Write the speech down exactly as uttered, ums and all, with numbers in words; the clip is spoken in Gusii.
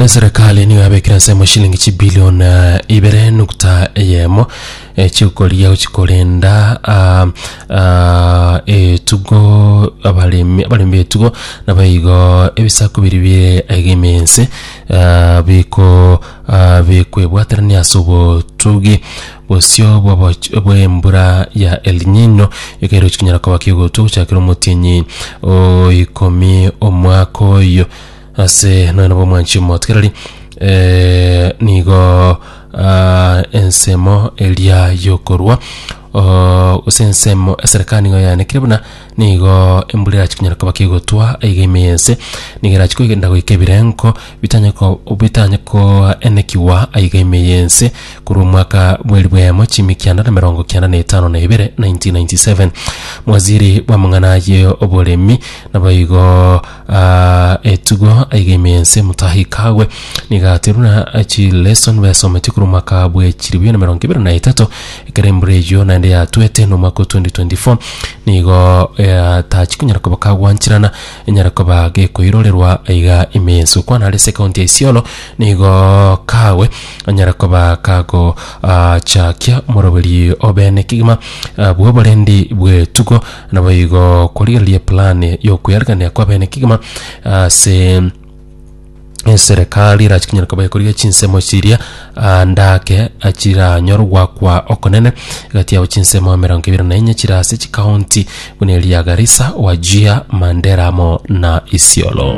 Bono eserekari nigo yabekire ensemo shilingi chibilion eh, ibere nukta eyemo eh, chikoria gochi korenda ah, ah, etugo abaremi abaremi betugo nabaigo ebisaku biri bire aiga ime ense ah, biko ah, bikwebwaterania ase obotugi bosio bw'oboch- bw'embura ya El Nino ekero chikonyara koba kegotwa gochakera omotienyi o ikomi omwaka oyo ase nonya nabo omwanchi omotigereri eh, nigo ah, ensemo eria yokorwa oh, gose ensemo eserekari nigo yanekire buna nigo embura erachi konyara koba kegotwa aiga ime yense nigo erachi kogenda goika ebirengo bitanye ko bitanye koenekiwa aiga ime yense korwa omwaka bweri bwemo chimi kianda na mirongo kianda na etano na ibere nineteen ninety-seven. Mwaziri bw'amang'ana ye oboremi naboigo ah, etugo aiga ime yense Mutahi Kagwe nigo aterwa na chileson besometie korwa omwaka bwe chiribu na mirongo ibere na etato ekero embura eywo naende yatwete na omwaka o twenty twenty-four nigo eh, tachi konyara koba kagwancherana enyara koba gekoirorerwa aiga ime yense okwana are ase ekaunti ya Isiolo nigo Kagwe anyara koba kago ah, chakia omoroberi obene kegima ah, bwa oborendi bw'etugo naboigo korigereria plan yokoyarigania kwa bene kegima ase eserekari erachi konyara koba ekorigia chinsemo chiria ah, ndake chiranyore gwakwa okonene egati yabo chinsemo emerongo ebere na enye chire ase chikaunti buna eria ya Garissa, Wajir, Mandera amo na Isiolo.